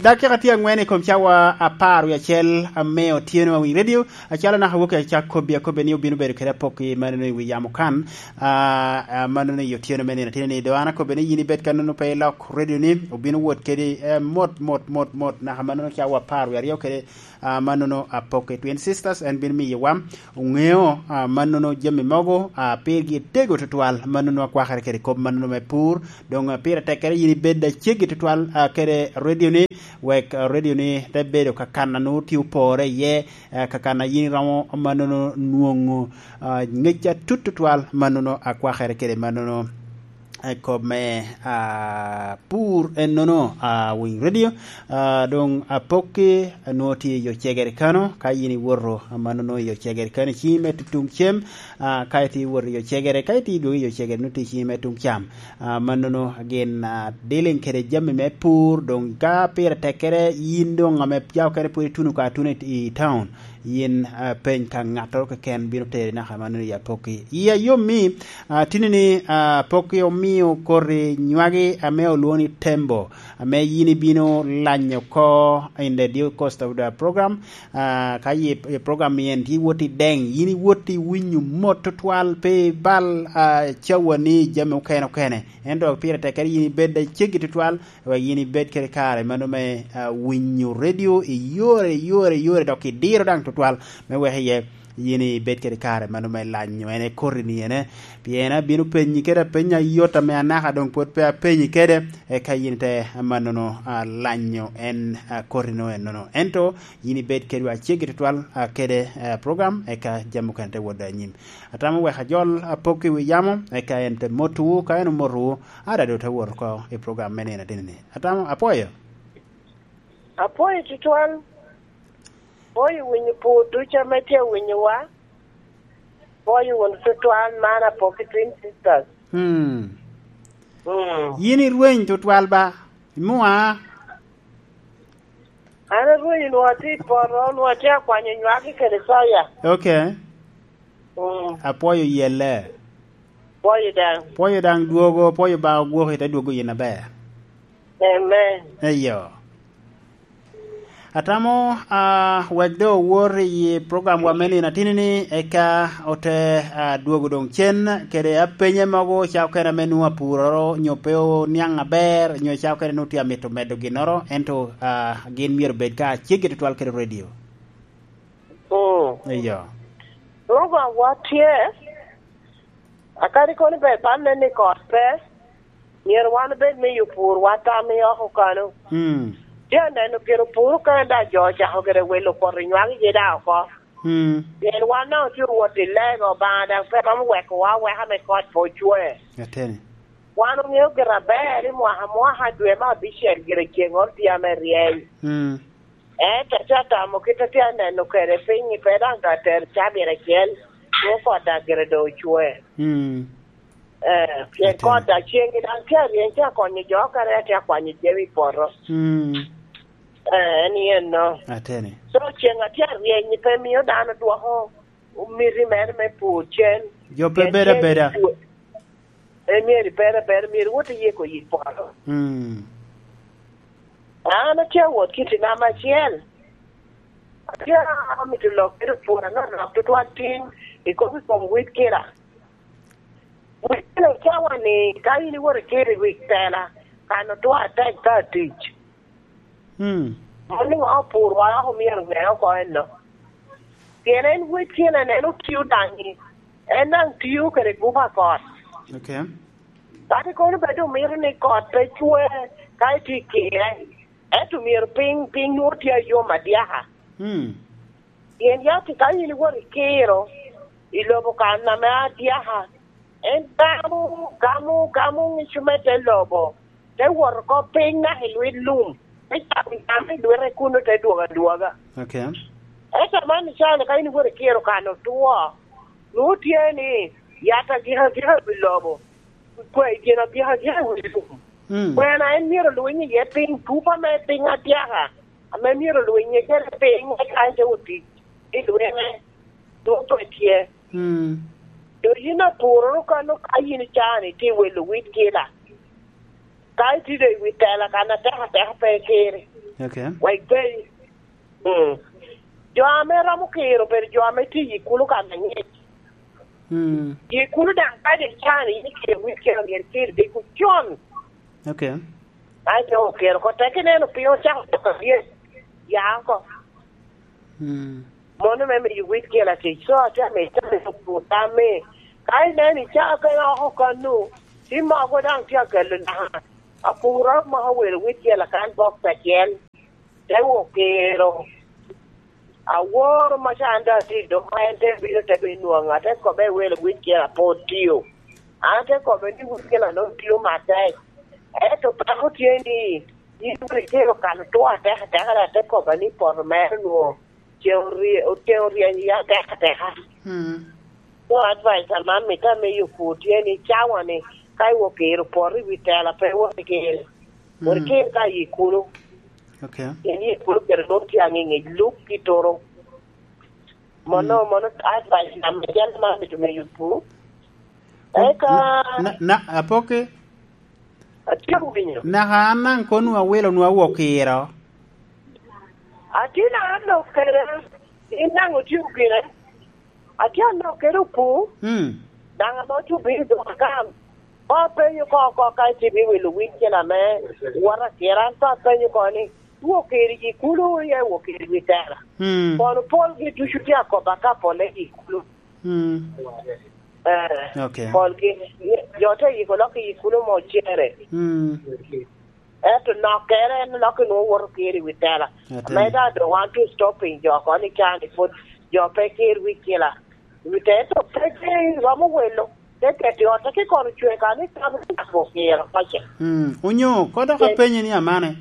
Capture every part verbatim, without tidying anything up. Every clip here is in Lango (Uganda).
Dakika tye angwen i kom cawa apar wie acel ame otyeno a Winy Radio. Acalo naka wok acak kobbi akobbe ni obino bedo kede apokki mano i wi yamo kan. Ah, ah, mano ni otyeno me nino tino ni do an akobbe ni yin ibed ka nono pe ilok radio ni, obino wot kede, eh, mot, mot, mot, mot, naka mano cawa apar wie aryo kede, ah, manono apokki Twin Sisters, en bino miyowa oŋeo, ah, manono jami mogo, ah, pirgi tego tutwal, manono akwakere kede kop manono me pur. Doŋ, ah, pire tekkere yin ibed aceggi tutwal, ah, kede radio ni, wek, ah, radio ni te bedo kakan a nwoŋo tye opore iye, ah, kakan a yin iromo manono nwoŋo, ah, ŋec atut tutwal manono akwakere kede manono, eh, kop me, ah, pur ennono, ah, Winy Radio. Ah, doŋ apokki, ah, nwoŋo tye i yo cegere kano, ka yin iwoto, ah, manono i yo cegere kano, i ciŋi me tutuŋ cem, ah, ka itye iwoto i yo cegere, ka itye idwogo i yo cegere, nwoŋo tye i ciŋi me tuŋ cam. Ah, manono gin, ah, dealing kede jami me pur, doŋ ka pire tekkere, yin doŋ ame ca okene pwod ituno ka atuna i, i town, yin, ah, peny ka ŋattoro keken bino teri naka manono i apokki. Iya yom mi, ah, tini ni, ah, apokki omio koti nywagi ame olwoŋo ni Tembo, ame yin ibino lanyo oko in the due course of the program. Ah, ka ye, ye program ni en tye iwot i deŋ, yin iwot i winyo mot tutwal, pe ibal, ah, cawa ni jami okene okene. Ento pire tekkere yin ibed aceggi tutwal, wek yin ibed kede kare mano me, ah, winyo radio i yore, yore, yore, dok idiro daŋ tutwal me wek iye yin ibed kede kare mano me lanyo en ekoti ni ene. Pien abino penyi kede apeny ayot ame anaka doŋ pwod pe apenyi kede, eka yin te manono, ah, lanyo en, ah, koti no ennono. Ento yin ibed kedwa aceggi tutwal, ah, kede, eh, program, eka jami okene te wot anyim. Atamo wek ajol apok i wi yamo, eka en te motowu, ka en omotowu, ada doŋ te wot oko i program me nino ateni ni. Atamo, apwoyo. Apwoyo tutwal. Apwoyo winyo pur ducu ame tye awinyowa. Apwoyo wunu tutwal, man apok i Twin Sisters. Hmm. Mm. Yin irweny tutwal ba? Imua? An arweny, onwoŋo atye i poto, onwoŋo atye akwanyo nywagi kede soya. Ok. Mm. Apwoyo yelle. Pwoyo daŋ. Pwoyo daŋ dwogo, pwoyo ba ogwoki te dwogo yin aber. Amen. Eyo. Atamo, ah, wek doŋ owor i program wa me nino atini ni, eka ote, ah, dwogo doŋ cen kede apenye mogo ca okene ame nwoŋo apuroro, nyo pe oniaŋ aber, nyo ca okene nwoŋo tye amito medo ginnoro, ento, ah, gin myero bed ka aceggi tutwal kede radio. Mm. Eyo. Program wa tye, akadi kono ber bal nen ni kot pe, myero wan obed me yubo pur, wa tam i oko kano. Mm. Tye aneno pien opur okene daŋ jo ocako gire welo poto nywagi gi daŋ oko. Mm. Pien wan daŋ otye owot i lego, Obaŋa daŋ pe romo wekowa aweka me kot pe ocwe. Ateni. Wan oŋeo gire aber ni mwaka mwaka dwe me abicel gire ceŋŋoro tye ame ryeny. Mm. Ento atye atamo kit atye aneno kede piny, pe daŋ ka tero cabit acel, nwoŋo kot daŋ gire doŋ ocwe. Mm. Eh, pien Ateni. Kot daŋ ceŋ daŋ tye aryeny, tye akonyo jo okene, atye akwanyo jami i poto. Mm. Eh, en yen no. Ateni. So, ceŋ atye aryeny, pe mio dano dwoko miti mere me pur cen. Jo pe Pien bedo cen abeda. Tye, en myero ibed abeda, myero iwot iyiko yik poto. Mm. An atye awot kiti namba acel. Atye amito lok kede pur anonok tutwal tin i kop i kom wit kela. Wit kela cawa ni, ka in iwot ikelo i wi kela, kan otwo atek ka tic. Mm. Mano ni wa opur wa oko myero ŋe oko enno. Pien en wec kela en otio daŋ ni, en daŋ tio kede guba kot. Ok. Kadi kono bed omito ni kot pe cwe ka itye i kire, ento myero piny, piny nwoŋo tye ayom adyaka. Mm. Pien yat ka in iwot ikiro i lobo kan ame adyaka, en gamo, gamo, gamo ŋic me te lobo, te wot oko piny naka i lwit lum, te cako nyam i lwite kuno te dwogo adwoga. Ok. Ento man icalo ka in iwot ikiro kan otwo, nwoŋo tye ni yat agika agika i wi lobo, kwe-, gin agika agika i wi lum. Mm. Kwena en myero olwiny iye piny, tupa me piny adyaka, ame myero olwiny iye kede piny, eka en te otic i lwite, nwoŋo pe tye. Mm. Dok yin apuroro kano ka yin icaa-ni tye welo wit gila. Ka itye doŋ i wi tela kan atek ateka pe ikiri. Okay. Wa ipenyi. Mm. Jo ame romo kiro obedo jo ame tye i kulo kan angec. Mm. I kulo daŋ ka de can in ikiro wit kiro myero ikir diko con. Okay. Aeto okero oko tek ineno piny ocako doko aryet. Ya oko. Mm. Mono me miyo wit kelo atic. So, atye amiyo itam i lok rwot tam ni, ka ineno icaa kene oko kanu, ti mogo daŋ tye akelo naka. Apuro moko welo wit kelo akan bok acel. Te wok kero. Aworo ma ca an daŋ atye i dog, ma en te bino te bino nwoŋa, ate kobbe i welo wit kelo apod tio. An ate kobbe ni wit kelo anongo tio matek. Ento peko tye ni, yin wit kelo kalo two atek ateka, ate kobbe ni poto mere nwoŋo. Ceŋ orye-, oceŋ oryeny iye atek ateka. Mm. So advice ame amito amiyo pur tye ni cawa ni ka iwok kero poto i wi tela pe iwot ikir. Mm. Wot ikir ka i kulo. Okay. Pien i kulo kero nwoŋo tye aŋiŋic luk ki turu. Mono, mm, mono advice ame acel ame amito miyo pur. Eka na, na, apoki. Atye winyo. Naka an daŋ kono awilo nwa wok kiro. Atye na anok kede, in daŋ otye gire. Atye anok kede opu. Mm. Daŋ ame otye obino i dog akam. Ka apenyo ko oko ka itye ibiwilo winy cen ame wot akira, an ka apenyo ko ni, wok kiri i kulo, ya wok kiri wi tela. Mm. Kono polgi ducu tye akoba ka pole i kulo. Mm. Eh, okay. Polgi, jo te yiko lok i kulo mo cere. Mm. Ento nokkere en lok nwoŋo woto kiri i wi tela. Ate. Ame da doŋ wan tu stopping jo ko ni can i pwod jo pe kir wi kila. Wi te to pe kir romo welo. Te keti ot, te ki kono cwe ka ni tam ni nako kiro pace. Mm. Onyo, kodok apenyi ni amane.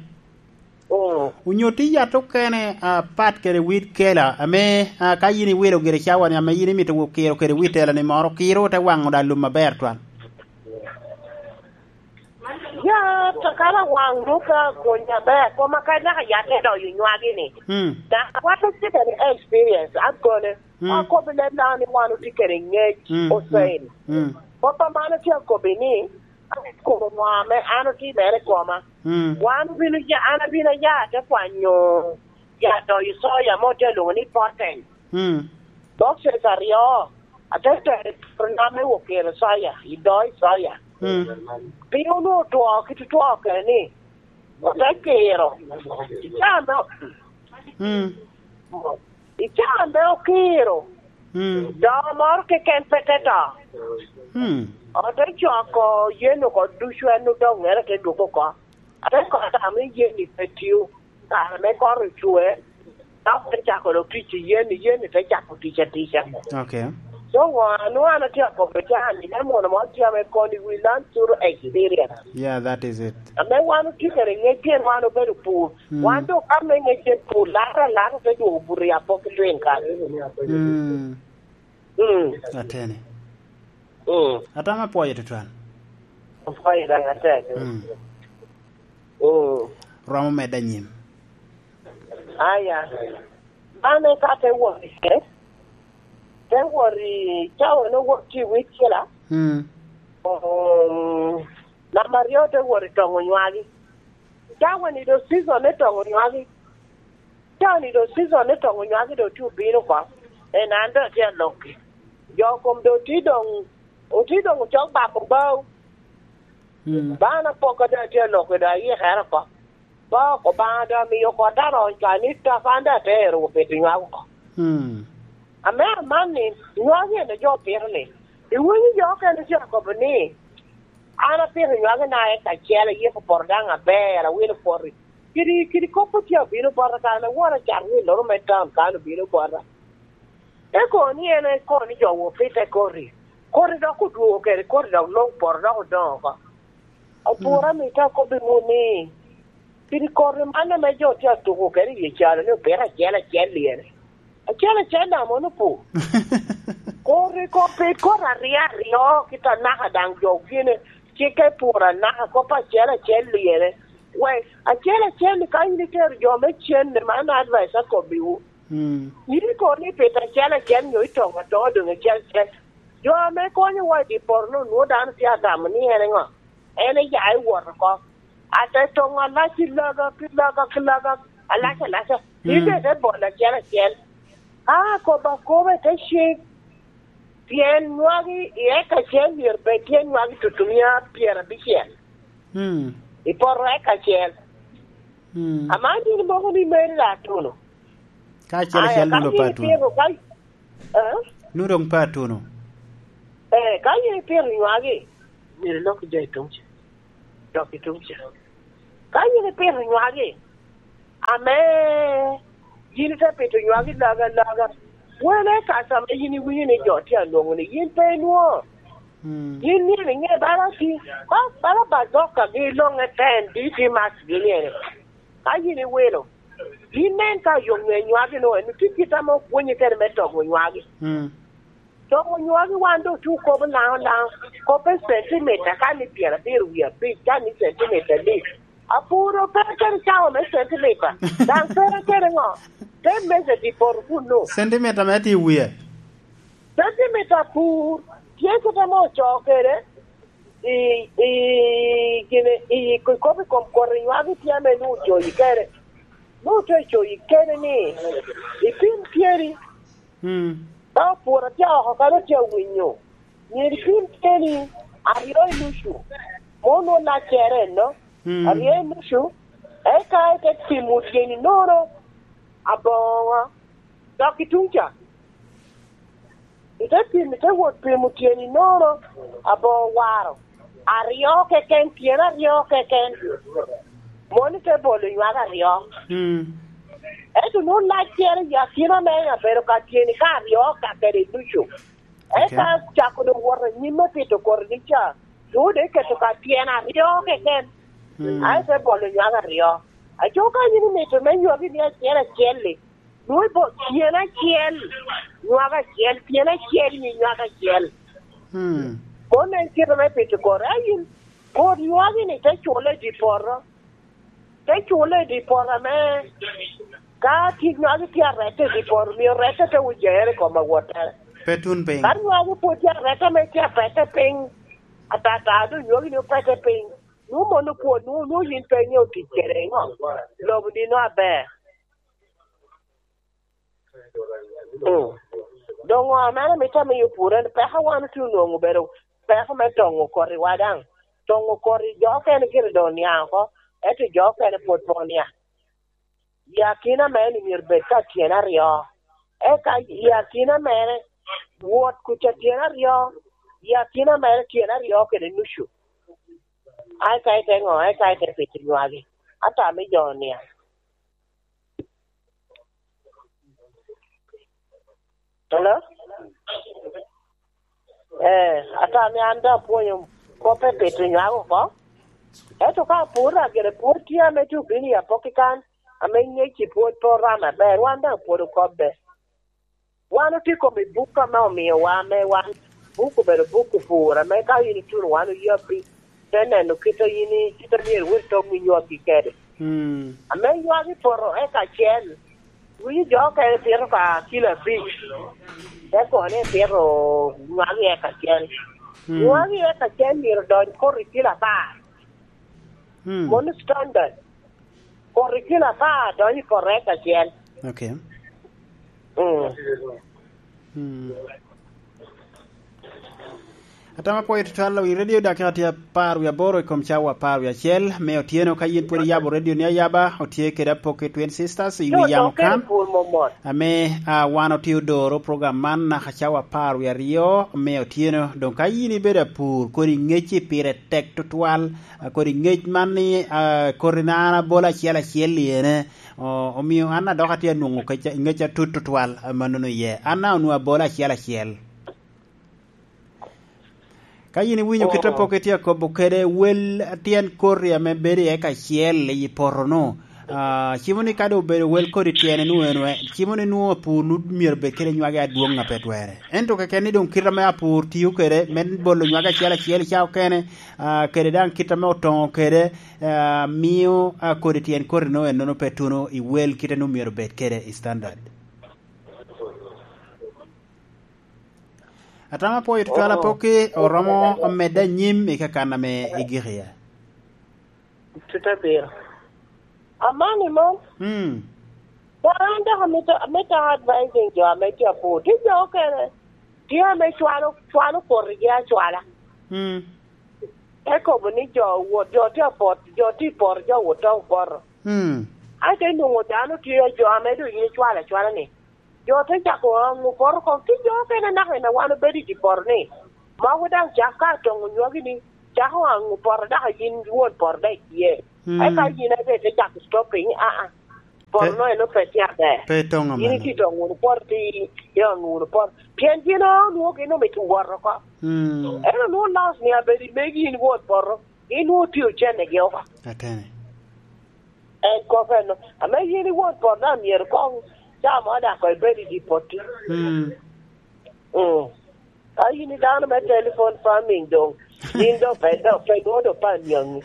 Mm. Onyo tye yat okene, ah, pat kede wit kela, ame, ah, ka yin iwilo gire cawa-ni, ame yin imito wok kiro kede wit tela-ni moro, kiro te waŋo da lum aber twal. Ya, kakala waŋ duka kun jaber, koma ka naka yat te doyo nywagi-ni. Mm. Dok wan otye kede experience, akone. Mm. Akobo leb na ni wan otye kede ngec, mm, Hussein. Mm. Kop a man atye akobi ni, An kobo ŋo ame an otimere i koma. Mm. Wan obino ya, an abino aya ate kwanyo ya doyo soya mo te lwoŋo ni poten. Mm. Boxes aryo, ate tero i poto na me wok kiro soya, i do i soya. Mm. Piny onwoŋo otwo, kit otwo kene ni, ote kiro. Icaa me, mm, i caa ame okiro, mm, doo moro keken pe te to. Mm. Ote cwako yen oko ducu, en odong ŋere te dwogo oko. Ate kono tamo ni yen-ni pe tio. Kare me kot ocwe, dok te cako dok tic i yen-ni, yen-ni te cako tic atica. Okay. So, ŋo a nwoŋo an atye akobo caa-ni, me mono moro tye ame koni we learn through experience. Yeah, that is it. Ame wan otye kede ŋec pien wan obedo pur. Mm. Wan doŋ ka me ŋec en pur, laro alaro te dwogo buto i apok ki twin kare. Mm. Mm. Ateni. Mm. Atamo apwoyo tutwal. Apwoyo daŋ atek. Mm. Mm. Romo medde anyim. Aya. Bane ka te wot i kec, te wot i cawa ne wot tye i wicela. Mm. Um, namba aryo te wot i toŋo nywagi. Cawa-ni doŋ season me toŋo nywagi. Cawa-ni doŋ season me toŋo nywagi doŋ tye obino oko. En an doŋ atye alokki. Jo kom doŋ tye doŋ, otye doŋ ocok bako bao. Mm. Bana poko doŋ atye alokki doŋ ayikere oko. Ba Obaŋa doŋ amiyo kotta roc ka ni tap an daŋ atero wot pito nywak oko. Mm. Ame aman ni, nywak en a jo pito ni, iwinyo jo okene tye akobo ni, an apito nywak i naka acel, ayiko poto daŋ aber, awilo poto. Kidi, kidi kop otye abino bota kare na wora cat wiloro me taun kan obino bota. Eko ni en eko ni jo wot pite koti. Koti dok odwogo kede, koti dok lok poto dok odoŋo oko. Opwora, mm, mito akobbiwu ni, kidi koti man ame jo tye atuko kede i calo ni opito acel acel lyere. Acel acel daŋ mono opur. Koti kop, koti aryo aryo, kit anaka daŋ jo gine, cikke pur anaka, kop acel acel lyere. Wek acel acel ni ka in itero jo me cen-ni, man advice akobbiwu. Mm. In ikobo ni pito acel acel nyo itoŋo atoŋa doŋ acel acel. Jo ame konyowa i dye poto-nu nwoŋo dano tye atamo ni en eŋo? En eya ewot oko. Ate toŋo alac i logo, ki logo, ki logo, alac alaca. Mm. Ite te bolo acel acel. Aa, kobo akoba i te cik. Pien nywagi i eka acel myero bed tye nywagi tutumia pyerabicel. Mm. I poto eka acel. Mm. Ama nino moko ni meri la tuno. Ka acel acel nudo pa tuno. Aya, ka yin ipito, ka, eh? Nudo doŋ pa tuno. Eh, ka yin ipito nywagi, myero ilok jo i tuŋ ca. Dok i tuŋ ca. Ka yin ipito nywagi, ame yin ite pito nywagi laga laga, wene ka ame yin iwinyo ni jo tye alwoŋo ni, yin pe inwoŋo. Mm. Yin myero iŋe bala ti, ba-, bala ba dok agi loŋe ten, di ti mak gi myero. Ka yin iwilo, yin nen ka yo ŋe nywagi no, en tye kit ame opwonye kede me togo nywagi. Mm. Togo nywagi wan doŋ tye okobo laŋo laŋo, kop i centimita, ka ni pyerabiro wie abic, ka ni centimita adi. Apuro pe kede cawa me centimita, daŋ pe kede ŋo, te meja i poto kuno. Centimita me tye i wie. Centimita apur, tye kit ame ocoo kede, i, i, gine, i, i kop i kom koti nywagi tye ame nwoŋo ocoyi kede. Nwoŋo te coyi kede ni, ipim tyeri. Mm. Ka opwod atye oko kadi otye awinyo, myero ipim tyeni aryo i nucu, mom nwoŋo laccere enno, mm, aryo i nucu, eka ite pimo tyeni nono aboŋo dok i tuŋ ca. Ite pimo, ite wot pimo tyeni nono aboŋo waro aryo keken, tyen aryo keken, moni te bolo nywak aryo. Mm. Ento nwoŋo laccere i akina me abedo ka tyeni ka aryo ka kede ducu. Eka, okay, cako doŋ wot anyim me pito koti ni ca, nwoŋo doŋ iketo ka tyen aryo keken. Mm. Ae te bolo nywak aryo. Aco ka yin imito me nywagi ni acel acel-li, nwoŋo ibo-, tyen acel, nywak acel, tyen acel, nyi nywak acel. Mm. Mom en kite me pito koti. Ayin, koti nywagi-ni te cule i dye poto. Te cule i dye poto ame ka tye nywagi tye arette i dye poto, myero rette te wujere i kom awottere. Pe tun piny. Ka nywagi pwod tye arette ame tye apette piny, atata doŋ nywagi ni opette piny. Nwoŋo mon opwod, nwoŋo, nwoŋo yin pe iŋeo tic kede iŋo? Lobo nino aber. Mm. Doŋ ŋo ame an amito amiyo pur en peko wan otye onwoŋo obedo peko me toŋo kotiwa daŋ. Toŋo koti jo okene gire doŋ oniaŋ oko, ento jo okene pwod pe oniaŋ. I akina mere ni myero bed ka tyen aryo. Eka i akina mere, wot kuca tyen aryo, i akina mere tyen aryo kede nucu. Ai ka ite ŋo, ai ka ite pito nywagi. Ata me jo oniaŋ. Hello? Eh, ata ame an daŋ apwonyo kop me pito nywak oko. Ento ka apwod, gire pwod tye ame tye obino i apoki kan, ame ŋec i pwod pe orame aber, wan daŋ pwod okobbe. Wan otye i kom i buk ame omiowa, ame wan buk obedo buk opur, ame ka in ituno wan oyabbi, te neno kit a yin i-, kit a myero iwot itom i nywakki kede. Mm. Ame nywak i poto eka acel, winyo jo okene pito ka kilo abic, te kono ni pito nywak i eka acel. Mm. Nywak i eka acel myero odony koto i kilo apar. Mm. Mano standard. Koto i kilo apar donyo i poto eka acel. Okay. Mm. Mm. Atamo apwoyo tutwal i radio, dakika tye apar wie aboro i kom cawa apar wie acel me otyeno. Ka yin pwod iyabo radio ni ayaba, otye kede Apoki Twin Sisters i wi yamo kan. Ame, ah, wan otye odoro program man naka cawa apar wie aryo me otyeno. Doŋ ka yin ibedo apur, kodi ŋecci pire tek tutwal, ah, kodi ŋec man ni, ah, koti na an abolo acel acel i ene, o-, omio an adok atye anwoŋo kec-, ŋec atut tutwal, ah, mannono iye. An na onwoŋo abolo acel acel. Ka yin iwinyo kit a pok itye akobo kede, wel tyen koti ame bedo iye kacel i poto-nu. Ah, cimo ni ka doŋ obedo wel kodi tyene nu eno, eh, cimo ni nwoŋo apur nu myero bed kede nywagi adwoŋ a pe twere. Ento keken ni doŋ kit ame apur tio kede me bolo nywagi acel acel i cawa okene, ah, kede daŋ kit ame otoŋo kede, ah, mio, ah, kodi tyen koti nu ennono pe tuno i wel kite nu myero bed kede i standard. Atamo apwoyo tutwal Apoki, oromo medde anyim i kakan ame igik iye. Tut abiro. Amani mom. Mm. Ba an dok amito, amito advising jo ame tye apur. Tye jo okene. Tye ame cwalo, cwalo potigi acwala. Mm. Te kobo ni jo owot, jo tye apot, jo tye i poto, jo owot to opoto. Mm. Aye te nwoŋo dano tye jo ame doŋ yin icwalo acwala ni. Jo te cako aŋo poto oko, ki jo okene naka en a wan obedo i dye poto ni. Mogo daŋ cak ka toŋo nywagi ni, cako aŋo poto, dok yin won poto daŋ itye. Mm. Eka yin aye te cako stopping, aa. Poto no en pe tye aber. Pe toŋo. Yin amano. Itye toŋo wunu poto, ti, ti oŋo wunu poto. Pien gin onwoŋo gin omito wot oko. Mm. En onwoŋo loss ni abedo i megi in won poto, gin onwoŋo tye ocennegi oko. Atene. En kop eno. Ame yin iwot poto daŋ myero koŋ ca mo daŋ koŋ ibed i dye potti. Mm. Mm. Ka yin i dano me telephone farming doŋ, yin doŋ pe, doŋ pe nwoŋo doŋ pe aniaŋi.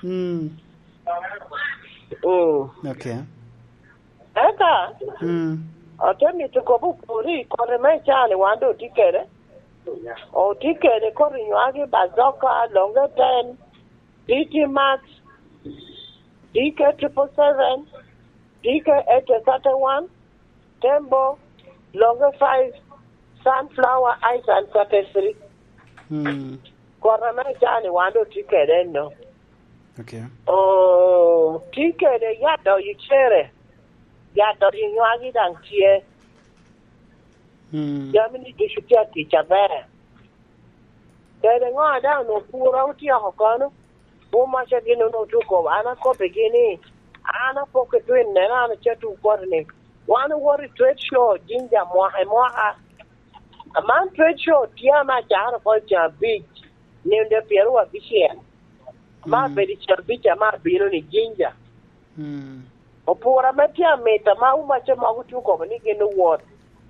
Mm. Mm. Okay. Eka, mm, ate mito kobo pwod i koti me caa ni wan doŋ otye kede. Otye kede koti nywagi, bazoka, longe ten, T T Max, D K triple seven, D K eight thirty-one, Tembo, Longe five, Sunflower, Ice and thirty-three. Mm. Kota me caa ni wan doŋ tye kede eno. Okay. Oh, tye kede yat doyo cere. Yat doyo nywagi daŋ tye. Mm. Jami ni ducu tye atic aber. Kede ŋo a daŋ onwoŋo puro otyeko kono? Wun macca gin onwoŋo tye okobo, an akobbigi ni, an apoko i twin neno, an acatwu koti ni, wan owoto i trade show Jinja mwaka i mwaka. Aman trade show tye ame acakere oko i can abic, nino dwe pyeraryo abicel. Ame, mm, abedo i can abic ame abino ni Jinja. Mm. Opur ame tye amito, ame omacce mogo tye okobo ni gin owot.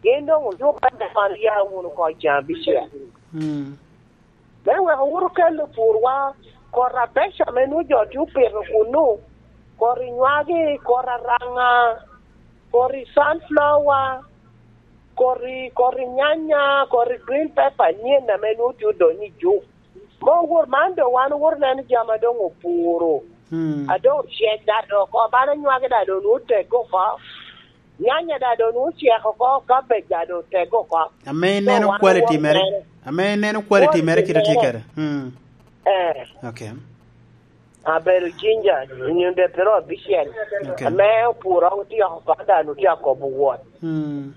Gin doŋ ojuko ame man ya wunu oko i can abicel. Mm. Me wek owot okel opurwa, kor abeco ame nwoŋo jo tye opito kunnu, kor i nywagi, kor araŋa, kor i sunflower, kor i, kor i nyanya, kor i green pepper, nyen ame nwoŋo tye odonyo i juk. Me owot man doŋ wan owoto neno jami a doŋ opuro. Hmm. A doŋ ocek daŋ doŋ oko, bala nywagi daŋ doŋ nwoŋo otegge oko. Nyanya daŋ doŋ nwoŋo ocek oko, cabbage daŋ doŋ otegge oko. Ame ineno quality mere, ame ineno quality mere kite tye kede. Hmm. Eh. Okay. Abedo Jinja, nino dwe pyeraryo abicel. Okay. Ame opuro otye oko, daŋ otye akobo wot. Hmm.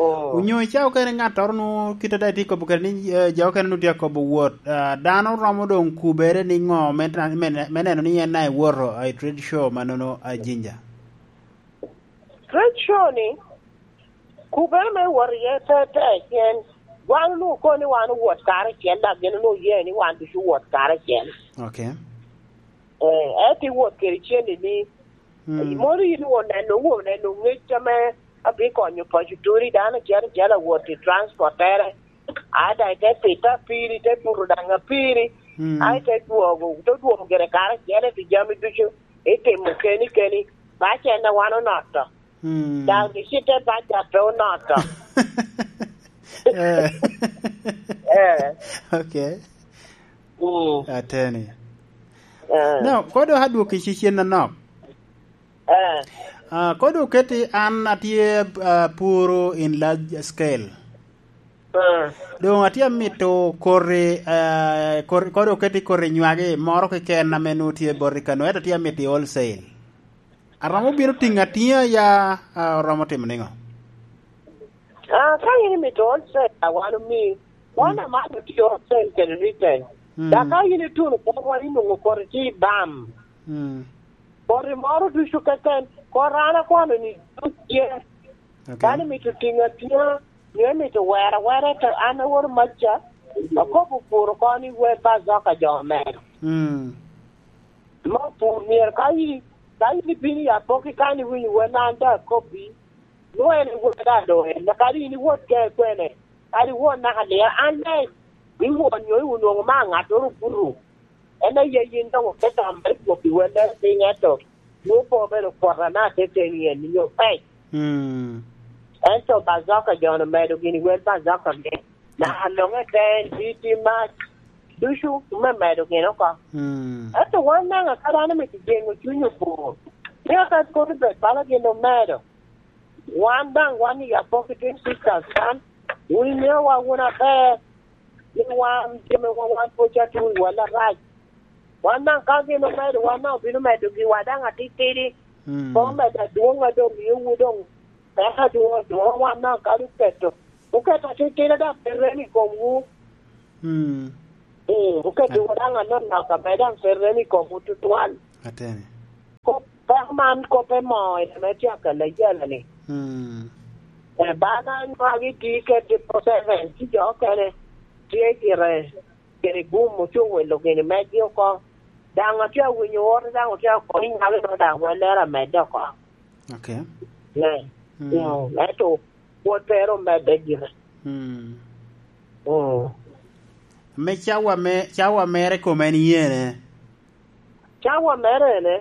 Oh. Onyo ica okene ŋattoro nu kite daŋ itye kobo kede ni, eh, jo okene nu tye akobo wot, ah, dano romo doŋ kubere ni ŋo me tra-, me ne-, me neno ni en daŋ iwoto, ah, i trade show manono, ah, Jinja? Trade show ni, kubere me wot iye pe, pe, pien wan onwoŋo okobo ni wan owot karacel, dok gin onwoŋo oye ni wan ducu owot karacel. Okay. Eh, ento iwot kede ceni ni, mm, mono yin oneno, oneno ŋec ame abikonyo paco toni, dano acel acel awot i transportere, a daŋ ite pito apiri, ite buto daŋ apiri, mm, a ite dwogo, ite dwogo gire karacel, ite jami ducu itimo keni keni, bac en a wan onoto. Mm. Daŋ gicitte bac a pe onoto. Eh. Eh. Okay. Mm. Ateni. Eh. Now, kodo adwoko i cicen anok. Eh. Ah, kodo oketi an atye, ah, puro in large scale. Eh. Doŋ atye amito koti, eh, koti, kodo oketi koti nywagi moro keken ame nwoŋo tye boti kano, ento atye amito i wholesale. Aromo bino tiŋo atiŋa ya, ah, oromo timo niŋo? Ah, ka in imito wholesale, a wan omi, wan, mm, amalo tye wholesale kede retail. Mm. Dok ka in ituno kotwa, inwoŋo koti tye i bam. Mm. Koti moro ducu keken, koti an akwano ni duc tye. Okay. Dano imito tiŋo atiŋa, nyo imito wero awera, to an awoto macca, akobo puro kono ni wel bazoka jo omedo. Mm. Me opur myero ka i, ka in ibino i apoki kan iwinyo wel, an daŋ akobbi, nwoŋo en iwot daŋ doŋ en, kadi in iwot ke kwene, kadi iwot naka liŋ, an daŋ iwot nyo onwoŋo ma ŋattoro obuto. En aye yin doŋ oketo mere gwok i welle piny, ento nwoŋo pe obedo kwota na teteni en nyo pec. Mm. Ento bazoka jo-nu omedo gini wel bazoka ge. Na, mm, longe ten, titi mac, ducu me medo gin oko. Mm. Ento wan daŋ, aka dano mito jeŋo cuny opur, ni aka kono bed bala gin omedo, wan daŋ wan i Apok Twin Sisters kan, wun iŋeowa wun aber, ni wan jami wa wan pwod ca tuŋ i walla rac. Wan daŋ ka gin omedo, wan daŋ obino medo giwa daŋ atitidi. Mm. Koŋ medo adwoŋ a doŋ mio wu doŋ peko adwoŋ adwoŋ, wan daŋ kadi oketo, oketo atitidi daŋ pe rem i komwu. Mm. Mm, oketo wu daŋ anonok ame daŋ pe rem i komwu tutwal. Ateni. Kop, peko man kop emo en ame tye akelle jala-ni. Mm. Eh, bana nywagi tye kede triple seven, ci jo okene tye gire kede gum, ocuŋ wilo gini megi oko. Daŋ atye awinyo ote, daŋ otye akono i nyalo, daŋ wellere amedde oko. Okay. Ne. Mm. Mm, ento pwod pe ero medde gire. Mm. Mm. Me cawa me, cawa mere kome en yene? Cawa mere ene?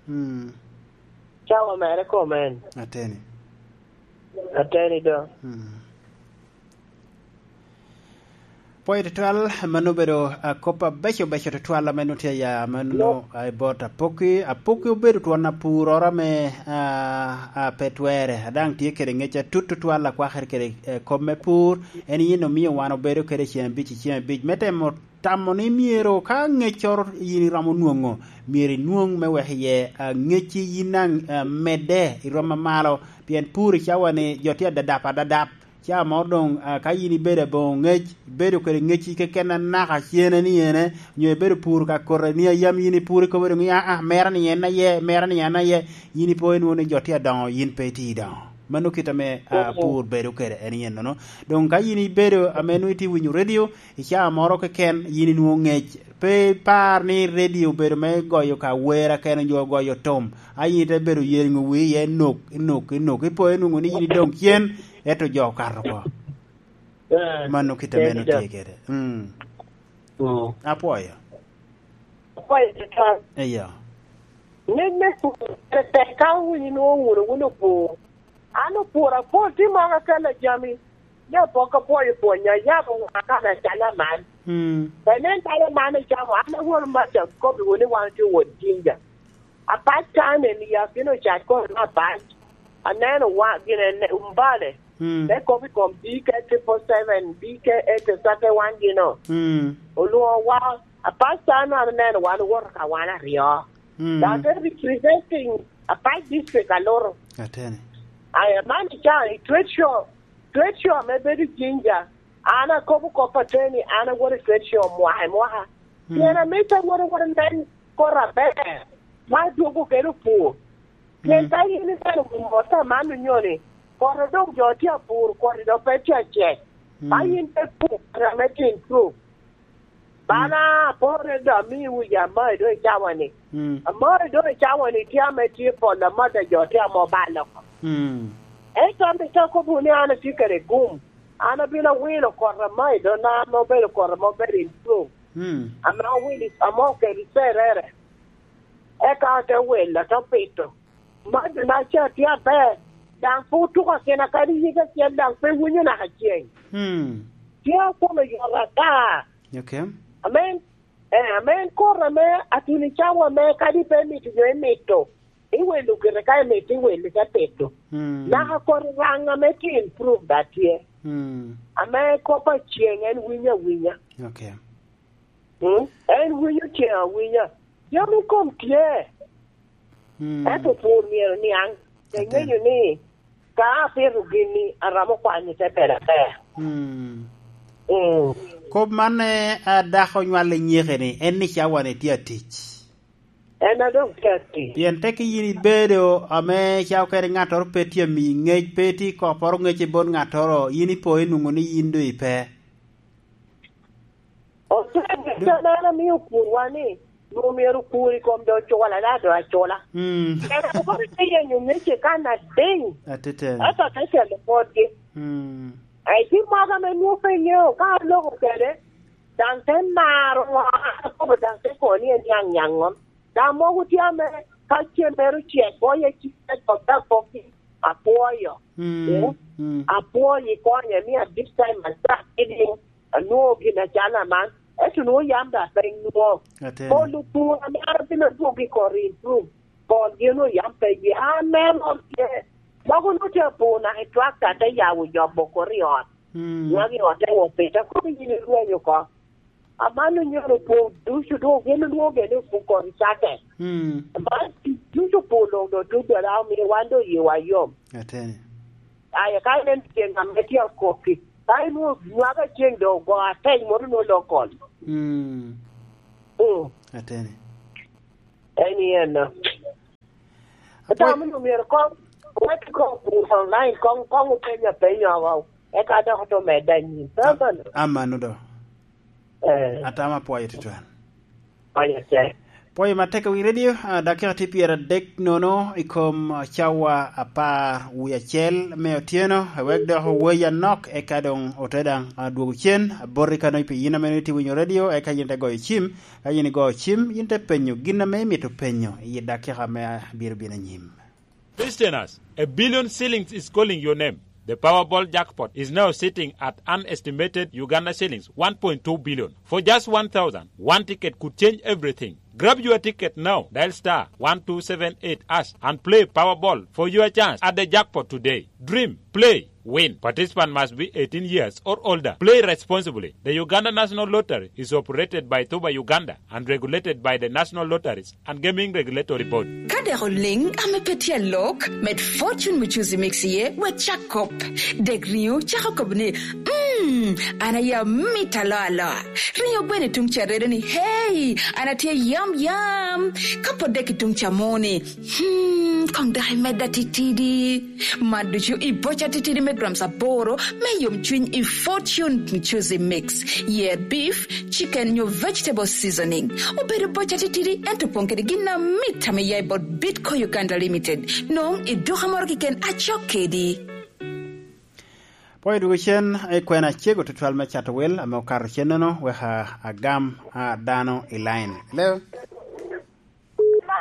Mm. Cawa mere kome en? Ateni. Ateni do. Mm. Pwoyo tutwal, mano obedo, ah, kop abeco beco tutwal ame nwoŋo tye aya mano, no, ah, i bot Apoki. Apoki obedo twon apuroro ame, ah, ah, pe twere. Daŋ tye kede ŋec atut tutwal akwakere kede, eh, kop me pur. En yin omio wan obedo kede cen abic i cen abic. Me temo tamo ni myero ka ŋeccoro yin iromo nwoŋo, myero inwoŋ me wek iye, ah, ŋecci yin daŋ, ah, medde i rwom amalo. Pien pur i cawa-ni jo tye adadap adadap. Ca moro doŋ, ah, ka yin ibedo aboŋo ŋec, ibedo kede ŋecci keken anaka cene ni ene, nyo ibedo pur ka kota ni a yam yin ipur ikobo doŋ ni, "Aa, mera ni en aye, mera ni en aye," yin ipo inwoŋo ni jo tye adoŋo, yin pe itye idoŋo. Mano kit ame, ah, pur bedo kede en ennono. Doŋ ka yin ibedo ame nwoŋo itye winyo redio, i caa moro keken yin inwoŋo ŋec. Pe ipar ni redio obedo me goyo ka wer akene, onyo goyo tom. A yin ite bedo yeŋo wii iye, inok, inok, inok. Ipo inwoŋo ni yin idoŋ cen, ento jo okato oko. Eh, mano kit ame en tye kede. Mm. Mm. Apwoyo. Apwoyo tutwal. Eyo. Ŋec me pur, tek ka wun inwoŋo wunu wun opur. An opur apol, tye moko akelo jami. Ni apok apwoyo pwonya, yabo ŋa kan acalo aman. Mm. Pe nen bala man icamo, an awor maca kobbiwu ni wan tye wot jinja. Apac kan en i akino cat kono me apac. Aneno wa, gin ene, umbale. Mm. Me kop i kom B K triple seven, B K eight thirty one gino. Mm. Olwoŋo wa, apac kan an aneno wan owoto ka wan aryo. Mm. Dok te representing apac district aluto. Atene. Aya, man i ca i trade show, trade show ame bedo i Jinja, an akobo kop ateni, an awoto i trade show mwaka i mwaka. Mm. Pien amito awoto, awoto nen kore aber, ma adwogo kede opur. Pien mm, ka in ineno mota man onyoni, kore doŋ jo tye apur, kore doŋ pe tye acek. Mm. Ka in pe pur, kore ame tye improve. Bana, mm, apore do amiwu ya, amayi do i cawa-ni. Mm. Amayi do i cawa-ni tye ame tye pol, amada jo tye ame obalo oko. Mm. Ento an pe akobo ni an atye kede gum. An abino awilo kore amayi do na ame obedo kore ame obedo improve. Mm. Ame owilo, ame oketo i cerere. Eka ate wilo, ate pito. Mada na ca tye aber, daŋ pe otuko akina kadi yik acel, daŋ pe winyo naka ceng. Mm. Tye akome yot ata. Okay. Amen. Eh, amen. Koro ame atuni cawa ame kadi pe mito nyo imito, iwelo gire ka imito, iwelo te pito. Mm. Naka kodi raŋ ame tye improve da tye. Mm. Ame kop aceng en winyo awinya. Okay. Mm? En winyo ceng awinya. Jami kom tye. Mm. Ento pur myero niaŋ. Ate. Eŋeyo ni ka apito gini, aromo kwanyo te bedo aber. Mm. Mm. Kop man, eh, a dako nywal i nyeke-ni, en ni cawa-ni tye atic. En a doŋ tye atic. Pien tekki yin ibedo ame ca okene ŋattoro pe tye amiyi ŋec, pe itye kopporo ŋec i bot ŋattoro, yin ipo inwoŋo ni yin doŋ ipe. Ote, can an amio okurwa ni, nwoŋo myero okur i kom do ocula, da do acula. Mm. En akobo ni te yenyo ŋece kan ading. Atete. Ento te celo potgi. Mm. Ai, tye moko ame nwoŋo pe ŋeo, ka aloko kede, daŋ te maro ŋo, an akobo daŋ te kono ni en niaŋ niaŋ ŋom. Daŋ mogo tye ame ka cen mere ocek, goye cik te kop, te pokki, apwoyo. Mm, eh? Mm. Apwoyo, ikonye, ni at this time, I start feeding, anwoŋo gin acalo aman. Ento nwoŋo yam daŋ pe nwoŋo. Ateni. Pol otuŋ amaro bino dwogo i kor i rum. Pol gin oyam pe ye. Amen, ok ye. Mogo nwoŋo tye apur naka i twakta te yabo nyobo kor i ot. Mm. Nwoŋo i ot te wot pita. Kobo yin irwenyo oko. Aman onyono opur ducu doŋ gin nwoŋo gene opur kor i cake. Mm. Aman ducu opur doŋ doŋ tut dola omiyo wan doŋ yiwa yom. Ateni. Aya, ka inen ceng ame tye akoppi, ka inwoŋo nywaka ceng doŋ ogo ateny moro nwoŋo lokol. Mm. Mm. Ateni. En i en no. Apwoy- Otamo ni omyero koŋ, wek koŋ pur online, koŋ, koŋ openya penya oko. Eka dok oto medde anyim. Amano. Amano do. Eh. Atamo apwoyo tutwal. Pwoyo tek. Pwoyo matek wi radio, ah, dakika tye pyeradek nono i kom, ah, cawa apar wie acel me otyeno, wek dok owoyi anok, eka doŋ ote daŋ, ah, dwogo cen, aboti ka doŋ pi yin ame itye winyo radio, eka yin te goyo cim, ka yin igoyo cim, yin te penyo gin ame imito penyo i dakika me abiro bino anyim. Listeners, a billion shillings is calling your name. The Powerball jackpot is now sitting at an estimated Uganda shillings one point two billion. For just one thousand, one ticket could change everything. Grab your ticket now. Dial star one two seven eight hash and play Powerball for your chance at the jackpot today. Dream, play, win. Participant must be eighteen years or older. Play responsibly. The Uganda National Lottery is operated by Tuba Uganda and regulated by the National Lotteries and Gaming Regulatory Board. Ka dek oliŋ ame pe tye alok, med Fortune Muchuzi Mix iye, wek cak kop. Dek riŋo cako kop ni, "Mm, an aye amito aloa aloa." Riŋo gweno i tuŋ ca redo ni, "Hey, an atye yam yam." Ka pot dek i tuŋ ca mo ni, "Hmm, koŋ dok imedda titidi." Man ducu i boca titidi me grams aboro me yomcwiny i Fortune Muchuzi Mix. Yer beef, chicken nyo vegetable seasoning. Obedo boca titidi, ento opoŋ kede gin amit ame ya i bot Bitco Uganda Limited. Nwoŋo i duka moro keken acok kedi. Pwoyo dwogo cen, i kwena acego tutwal me cato wel ame okato cenneno, wek a-, agam, a, dano i line. Hello?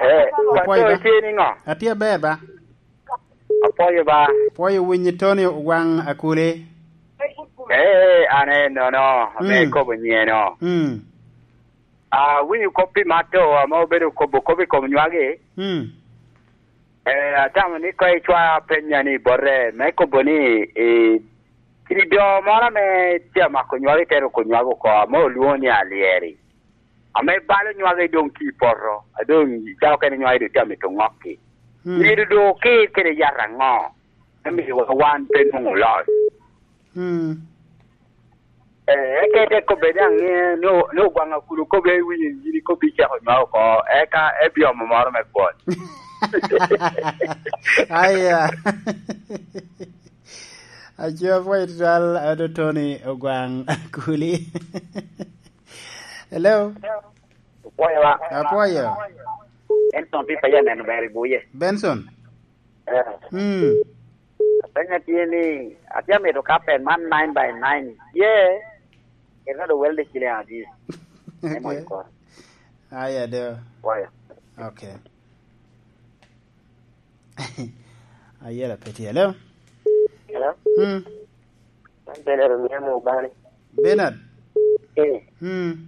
Eh, Apwoyo Pastor, ba. Itye niŋo? Atye aber ba. Apwoyo ba. Apwoyo winyi Tony Ogwaŋ Akuli. Eh, an enono, ame Mm. ikobo nyeno. Mm. Awinyo kop pi Mato, ame obedo kobo kop i kom nywagi. Mm. Eh, atamo ni ka icwao apenya ni bote, me kobo ni, eh, kido moro ame tye amako nywagi te ruko nywagi oko, ame olwoŋo ni alyeri. Ame balo nywagi doŋ tye i poto, a doŋ cako kene nywagi doŋ tye amito ŋokki. Mm. Myero doŋ okir kede yat aŋo? Me miyo wan pe nwoŋo loc. Mm. Eh, eka ite kobbe ni aŋe, ni o-, ni Ogwaŋ Akuli okobbe, iwinyo yin ikobbe icako nywako oko, eka ebiomo moro me kwon. Aya. Aco apwoyo tutwal, ado Tony Ogwaŋ Akuli. Hello? Apwoyo ba. Apwoyo. En Tony Pipa ya neno ber i buye. Benson? Eh. Mm. Apenyo tye ni, atye amito kapen man nine by nine. Ye, eka do welde ciliŋ adi? Emo Okay. Ikor. Aya do. Waya. Okay. Ayela pe tye. Hello? Hello? Mm. An Bernard Omiamo Obani. Bernard? Eh. Mm.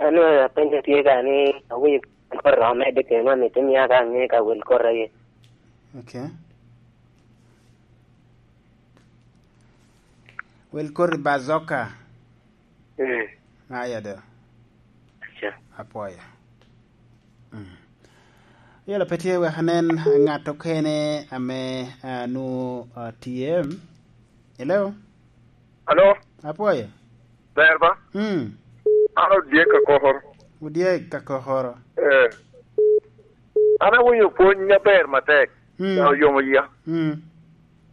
An apenyo tye ka ni, awinyo kor rom medde kene, amito mia ka aŋe ka wel kor aye. Okay. Wel kor i Bazoka. Mm. Aya do. Aca. Apwoyo. Mm. Yelo pe tye, wek anen ŋat okene ame, ah, nwoŋo, ah, tye. Hello? Alo? Apwoyo. Ber ba? Mm. An Odyek Kakokoro. Odyek Kakokoro. Eh. An awinyo pwony aber matek. Mm. Oyomo yia. Mm.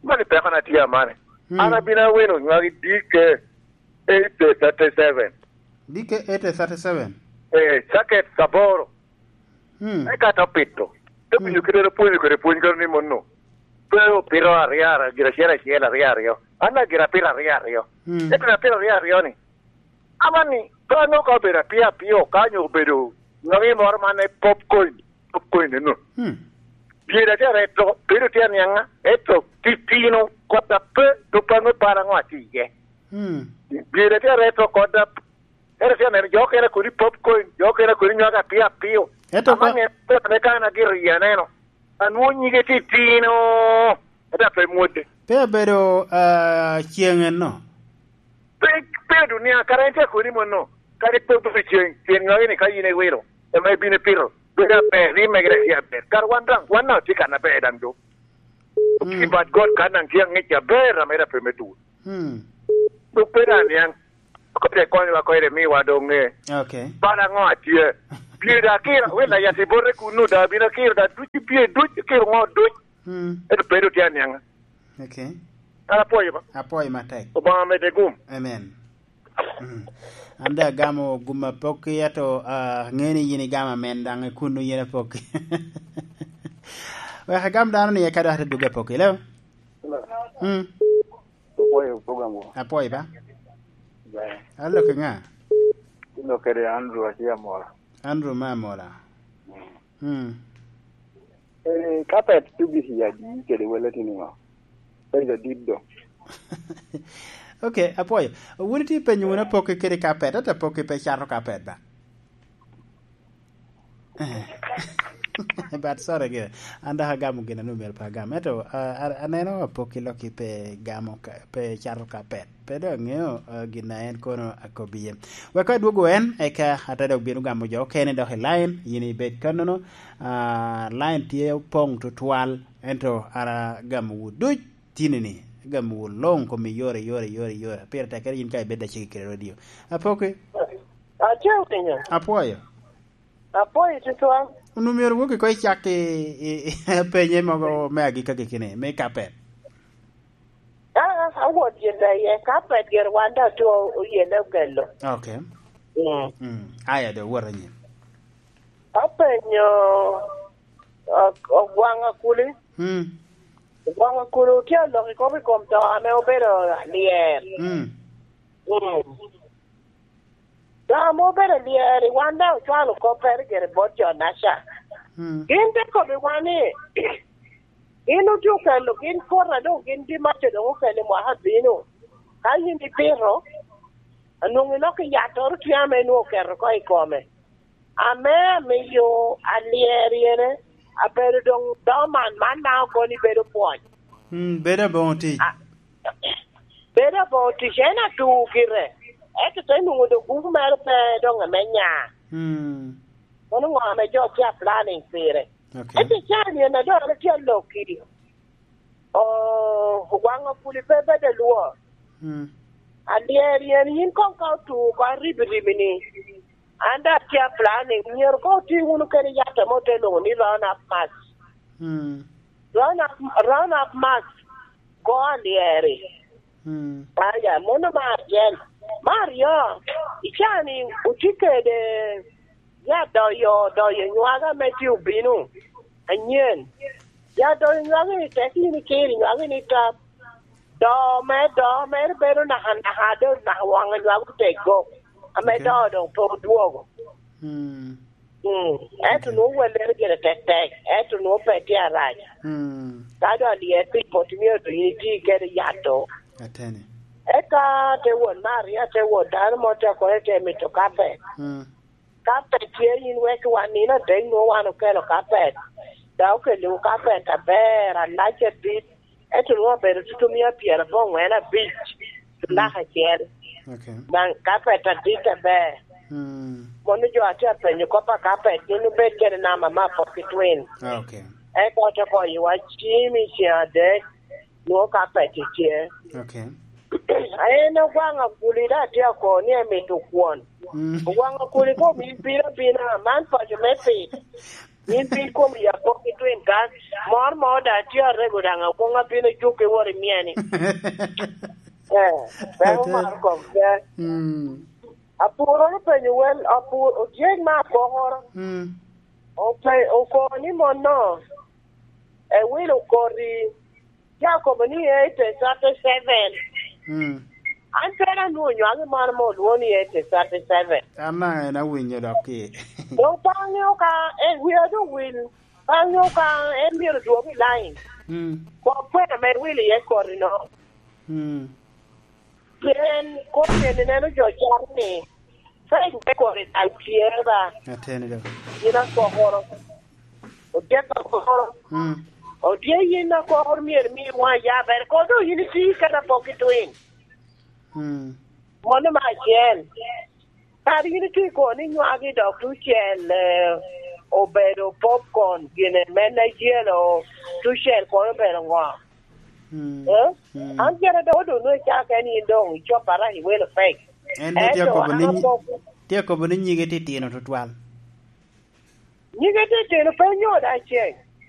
Mani peko na tye amane. Mm. An abino awino nywagi D K eight thirty-seven. D K eight thirty-seven? Eh, jacket aboro. Mm. Eka te pito. Te winyo Mm. kite ro pwonyo kede pwony kero ni mono. Pe opito aryo, aryo, gin acel acel, aryo, aryo. An daŋ gin apito aryo, aryo. Mm. Ento apito aryo, aryo ni. Amanni, pe anongo ka obedo apio apio, ka nyo obedo nongi moro man e popcorn, popcorn eno. Mm. Pyere tye areto, bedo tye aniaŋa, ento titino, kota pe, to pe aŋo pala ŋo atye iye. Mm. Pyere tye areto, kota Ento tye aneno jo okene kodi popcorn, jo okene kodi nywako apio apio. Ento ama ka ŋe pera me kan agito yie aneno. Anwo nyige titino. Ento ape mwodde. Pe abedo, ah, cieŋ enno. Pe, pe dunia, kara en tye kodi monno. Kadi pe obedo cieŋ, cieŋ nywage ni ka yin iwilo, ema ibino ipito. Bedo aber, ni mege tye aber. Kara wan daŋ, wan daŋ tye kan aber daŋ do. Mm. But God kan daŋ tye aŋec aber, amera pe me dur. Mm. Dok pe daŋ niaŋ. Kode konywa kode miwa doŋ ŋe. Okay. Bala ŋo atye? Pye da kira, wel a yat i bote kuno da, bino kiro da, duc pye, duc kiro ŋo, duc. Mm. Ento pe do tye aniaŋa. Okay. An apwoyo ba. Apwoyo matek. Obaŋa medde gum. Amen. Mm. An daŋ agamo gum apokki, ento, ah, aŋeo ni yin igamo amen daŋ i kuno yen apokki. Wek agam dano ni eka dok ate dwogo apokki, leo? Hello. Mm. Apwoyo program wo. Apwoyo ba? Ber. Alo ki ŋa? Ilo kede Andrew Asia Mola. Andrew ma Mola. Mm. Mm. Eh, kapet tugi i adi kede wele tini ŋo? Kede adit do. Okay, apwoyo. Wun itye penyo wun apokki kede kapet, ata apokki pe cato kapet ba? Eh. But sorry gire. An dok agamo gin a nwoŋo myero pe agam. Ento, ah, a-, aneno apokki lokki pe gamo ka, pe cato kapet. Pe dok aŋeo, ah, gin a en kono akobbi iye. Wek adwogo en, eka ate dok bino gamo jo okene dok i line, yin ibed kannono. Ah, line tye opoŋ tutwal, ento ara gamowu duc tinini, gamowu luŋ kom iyore, iyore, iyore, iyore. Pire tek kede yin ka ibed aciki kede radio. Apokki? Atye winyo. Apwoyo. Apwoyo tutwal. Onwoŋo myero wok iko icak i, i, i penye mogo me agikki agikki ni, me kapet. Ah, awot yelle iye, kapet gire wan daŋ tye oyelle okelo. Okay. Mm. Mm. Aya do, wot anyim. Apenyo, ah, Ogwaŋ Akuli. Mm. Ogwaŋ Akuli otye alok i kop i kom to ame obedo lyer. Mm. Mm. Dok ame obedo lyeri, wan daŋ ocwalo koppere gire bot jo-naca. Mm. Gin te kobbiwa ni, gin otye okelo, gin kota doŋ gin dimaco doŋ okelo i mwaka abino. Ka yin ipito, anwoŋo iloko i yattoro tye ame nwoŋo oketo oko i kome. Ame amiyo alyeri ene, abedo doŋ dormant, man daŋ okono ni bedo pwony. Mm, bedo aboŋo tic. A-, bedo aboŋo tic, en atu gire. Ento te nwoŋo doŋ gugu mere pe doŋ ame nya. Mm. Kono ŋo ame jo tye a planning pire? Okay. Ento i caa ni en a dok tye alokki. Oo, Ogwaŋ Akuli pe bedo alwor. Mm. Alyeri en yin koŋ ka otu oko aribiribi ni, an daŋ atye a planning, myero koŋ oti wunu kede yat ame ote lwoŋo ni Round Up Mask. Mm. Round Up, Round Up Mask go alyeri. Mm. Aya, mano me acel. Me aryo, i caa ni otye kede ya doyo, doyo nywage ame tye obino anyen. Ya doyo nywage ni tek yin ikiro nywage ni tap. Do me, do mere bedo naka, naka, do naka waŋ nywage oteggo. Ame, okay, do doŋ pe odwogo. Mm. Mm. Ento, okay, nwoŋo wellere gire tek tek, ento nwoŋo pe tye arac. Mm. Ka doŋ alyet pi pot myero doŋ iti kede yat-to. Ateni. Eka te wot me aryo, te wot dano mo te kono te mito kapet. Mm. Kapet tye, yin wek wan nino adek nwoŋo wan okelo kapet. Dok okelo kapet aber, alac adit. Ento nwoŋo obedo tutumia pyerabongwen abic, mm, lak acel. Okay. Daŋ kapet adit aber. Mm. Mono jo atye apenyo kop a kapet, gin obed kede namba me Apoki Twin. Ah, okay. Eka ote goyowa cim i ceng adek, nwoŋo kapet tye. Okay. En Ogwaŋ Akuli daŋ atye akobo ni emito kwon. Mm. Ogwaŋ Akuli kom in bino abina, man paco me pit. In piny kom ya pok itwin kan, mor mo da tye arego daŋ akoŋ abino juk i wor i mieni. Eh, pe omaro kom pe. Mm. Apuro ni penyo wel, apur, otyec me apokoro. Mm. Ope-, okobo ni mono, ewilo koti, tye akobo ni eighteen thirty-seven. Mm. An pe anwoŋo nywagi man ame olwoŋo ni eighteen thirty-seven. An daŋ en awinyo dok ki. Doŋ pe aŋeo ka, eh, wia doŋ wil, pe aŋeo ka en myero dwog i line. Mm. Kop kwena ame wil iye koti no. Mm. Pien kop eni neno jo caro ni, Ka in te kore dal tye ba, Ateni do. Yin akokoro. Otyeko akokoro. Mm. Otye yin akokoro myero mi waŋ ya ber. Kodo yin iti kata pok itwin. Mm. Mano me acel. Kara yin itye kono ni nywagi dok tucel, eh, obedo popcorn, gine me Nigeria, o, tucel kono obedo ŋo? Mm. Eh? Mm. An kere dok odong nwe cak en yin dong icopara i welo pek. En de tye Ento akobo ni an nyi-, pok tye akobo ni nyige titino tutwal. Nyige titino pe nyodo acel.